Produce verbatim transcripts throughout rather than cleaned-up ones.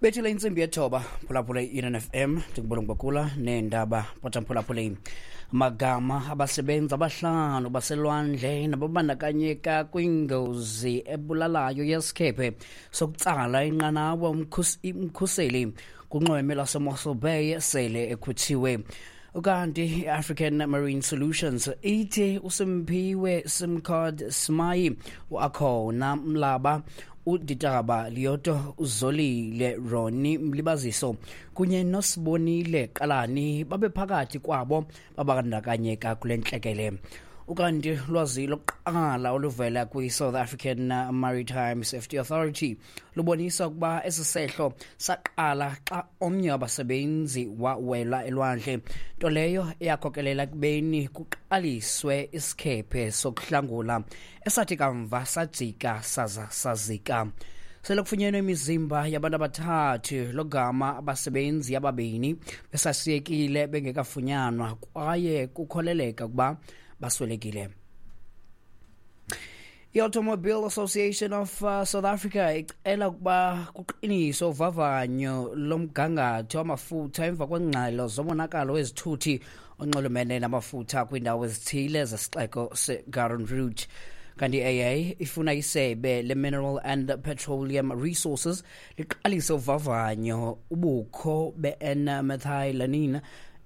Bethile intsimbi yethoba, phulaphula i-Eden F M, ndikubulungu bakula neendaba pothamphulaphuleni. Magama abasebenzi abahlanu baselwandle nababandakanyeka kwingozi ebulalayo yesikhephe sokutsala inqanawa umkhuseli kunxweme laseMossel Bay sele ekhutshiwe. Ukanti i-African Marine Solutions ithi uSimphiwe Simcard Simayi, uAkhona Mlaba, uDitaba Lioto, uZolile Roni Mlibaziso kunye noSibonile Qalani babe phakathi kwabo babandakanyeka kule ntlekele. Ukanti lwazi lokuqala oluvela kwi-South African Maritime Safety Authority lubonisa ukuba esi sehlo saqala xa omnye wabasebenzi wawela elwandle, nto leyo eyakhokelela ekubeni kuqaliswe isikhephe sokuhlangula esathi kamva sajika saza sazika. Sele kufunyenwe imizimba yabantu abathathu, logama abasebenzi ababini besasiyekile bengekafunyanwa kwaye kukholeleka ukuba baswelekile. I-Automobile Association of uh, South Africa icela ukuba kuqiniswe uvavanyo lomgangatho wamafutha emva kwengxelo zomonakalo wezithuthi onxulumene namafutha kwiindawo ezithile zesixeko seGarden Route. Kanti i-A A ifuna isebe le-Mineral and Petroleum Resources liqalise uvavanyo ubukho be-N-methylamine,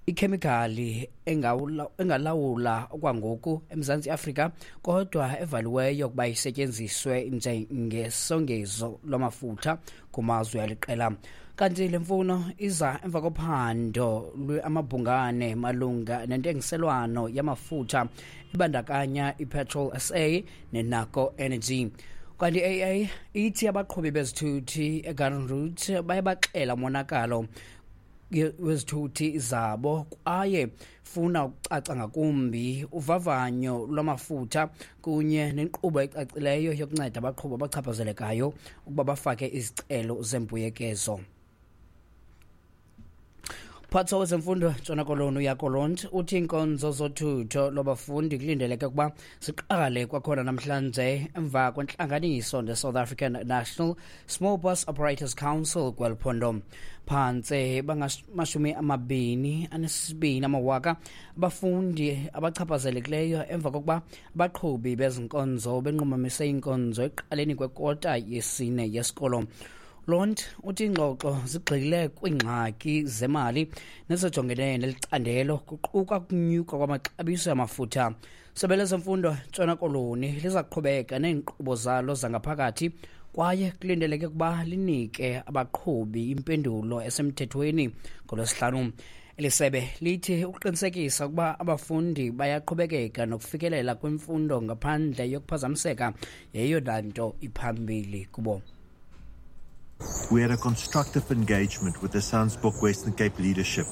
ikhemikhali engalawula okwangoku eMzantsi Afrika kodwa evaliweyo ukuba isetyenziswe njengesongezo lwamafutha kumazwe aliqela. Kanti le mfuno iza emva kophando lweamabhungane malunga nentengiselwano yamafutha ibandakanya iPetrol S A neNaco Energy. Kanti i-A A ithi abaqhubi bezithuthi eGarden Route baye baxela umonakalo wezithuthi zabo kwaye funa ukucaca ngakumbi uvavanyo lwamafutha kunye nenkqubo ecacileyo yokunceda abaqhubi abachaphazelekayo ukuba bafake izicelo zembuyekezo. Mphathiswa wezemfundo Ntshona Koloni uJaco Londt uthi iinkonzo zothutho lwabafundi kulindeleke ukuba ziqale kwakhona namhlanje emva kwentlanganiso ne-South African National Small Bus Operators Council kweli phondo. Phantse bangamashumi amabini anesibini amawaka abafundi abachaphazelekileyo emva kokuba abaqhubi bezinkonzo benqumamise iinkonzo ekuqaleni kwekota yesine yesikolo. Londt uthi iingxoxo zigxile kwiingxaki zemali nezijongene neli candelo, kuquka ukunyuka kwamaxabiso amafutha. Sebe lezemfundo Ntshona Koloni liza kuqhubeka neenkqubo zalo zangaphakathi kwaye kulindeleke ukuba linike abaqhubi impendulo esemthethweni ngoLwesihlanu. Eli sebe lithi ukuqinisekisa ukuba abafundi bayaqhubekeka nokufikelela kwimfundo ngaphandle yokuphazamiseka yeyona nto iphambili kubo. We had a constructive engagement with the SANSBOC Western Cape leadership.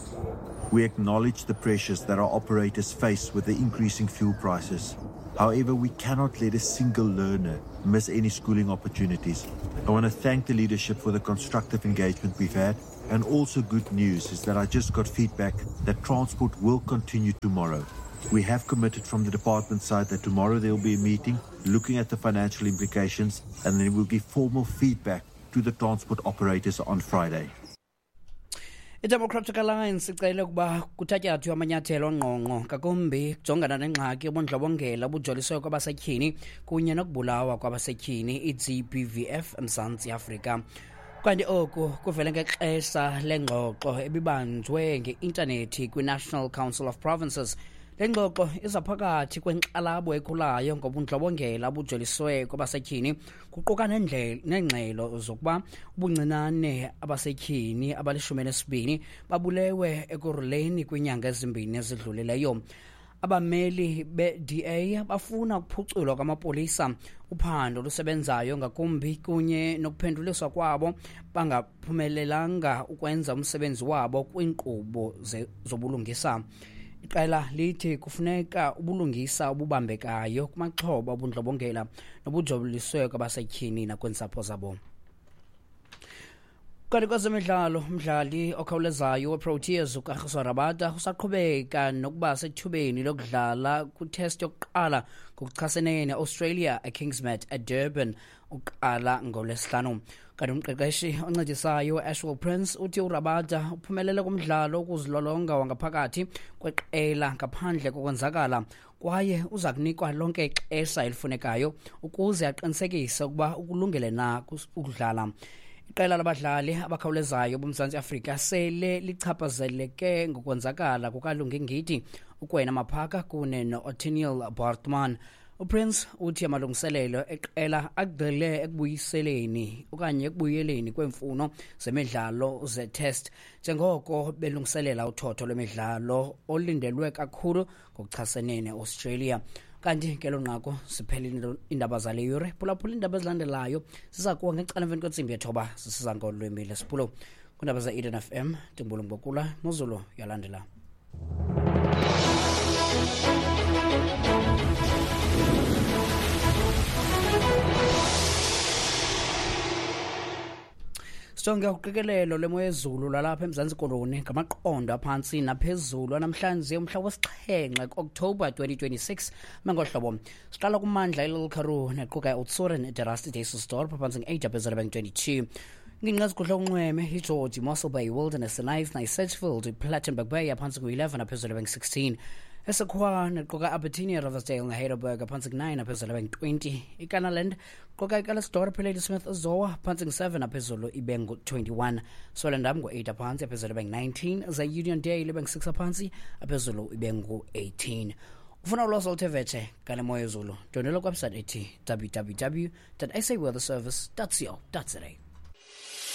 We acknowledge the pressures that our operators face with the increasing fuel prices. However, we cannot let a single learner miss any schooling opportunities. I want to thank the leadership for the constructive engagement we've had. And also good news is that I just got feedback that transport will continue tomorrow. We have committed from the department side that tomorrow there will be a meeting looking at the financial implications, and then we'll give formal feedback to the transport operators on Friday. I-Democratic Alliance icele ukuba kuthatyathwe amanyathelo angqongqo ngakumbi kujongana nengxaki yobundlobongela obujoliswe kwabasetyhini kunye nokubulawa kwabasetyhini, i-G B V F, eMzantsi Afrika. Kanti oku kuvele ngexesha lengxoxo ebibanjwe nge-intanethi kwi-National Council of Provinces. Le ngxoxo iza phakathi kwenkxalabo ekhulayo ngobundlobongela obujoliswe kwabasetyhini, kuquka neengxelo zokuba ubuncinane abasetyhini abalishumi elinesibini babulewe Ekurhuleni kwiinyanga ezimbini ezidlulileyo. Abameli be-D A bafuna ukuphuculwa kwamapolisa, uphando olusebenzayo ngakumbi kunye nokuphenduliswa kwabo bangaphumelelanga ukwenza umsebenzi wabo kwiinkqubo zobulungisa. Iqela lithi kufuneka ubulungisa obubambekayo kumaxhoba obundlobongela nobujoliswe kwabasetyhini nakwiintsapho zabo. Kanti kwezemidlalo, umdlali okhawulezayo weProteas uKagiso Rabada usaqhubeka nokuba sethubeni lokudlala kwitest yokuqala ngokuchasene neAustralia eKingsmead eDurban uqala ngoLwesihlanu. Kanti umqeqeshi oncedisayo Ashwell Prince uthi uRabada uphumelele kumdlalo wokuzilolonga wangaphakathi kweqela ngaphandle kokwenzakala, kwaye uza kunikwa lonke ixesha elifunekayo ukuze aqinisekise ukuba ukulungele na ukudlala. Iqela labadlali abakhawulezayo boMzantsi Afrika sele lichaphazeleke ngokwenzakala kukaLungi Ngidi, uKwena Maphaka kune no-Ottniel Baartman. UPrince uthi amalungiselelo eqela agxile ekubuyiseleni okanye ekubuyeleni kweemfuno zemidlalo ze-test njengoko belungiselela uthotho lwemidlalo olindelwe kakhulu ngokuchasene ne-Australia. Kanti ke lo nqaku siphelile iindaba zale yure. Phulaphula iindaba ezilandelayo ziza kuwa ngecala emveni kwentsimbi yethoba zisiza ngolwimi lesiPulo. Kwiindaba ze-Eden F M, ndingubulungu Bokula, Mozulu yalandela. Sijonge uqikelelo lwemo yezulu lwalapha eMzantsi Koloni ngamaqondo aphantsi naphezulu namhlanje umhla wesixhenxe ku-October twenty twenty-six. Mengohlobo siqala kumandla iLittle Karoo nequka iOudtshoorn, iDerasti, Dysselsdorp phantsi nge-eight aphezulu bengu-twenty-two. Ingingqi ezigudla unxweme iGeorge, Mossel Bay, Wilderness, Knysna, Sedgefield, iPlattenberg Bay phantsi ngu-eleven aphezulu bengu-sixteen. Esekwa nequka Albertinia, Riversdale neHeidelberg phantsi ku-nine aphezulu bengu-twenty. IKanaland quka iCalesdorp, Ladysmith, Zoa phantsi ngu-seven aphezulu ibe ngu-twenty-one. Swellendam ngu-eight aphantsi aphezulu bengu-nineteen. Ze-Uniondale ibe ngu-six aphantsi aphezulu ibe ngu-eighteen. Ufuna ulwazi oluthe vetshe ngale moya yezulu, ndwendwela kwiwebsite ethi w w w dot s a weather service dot co dot za.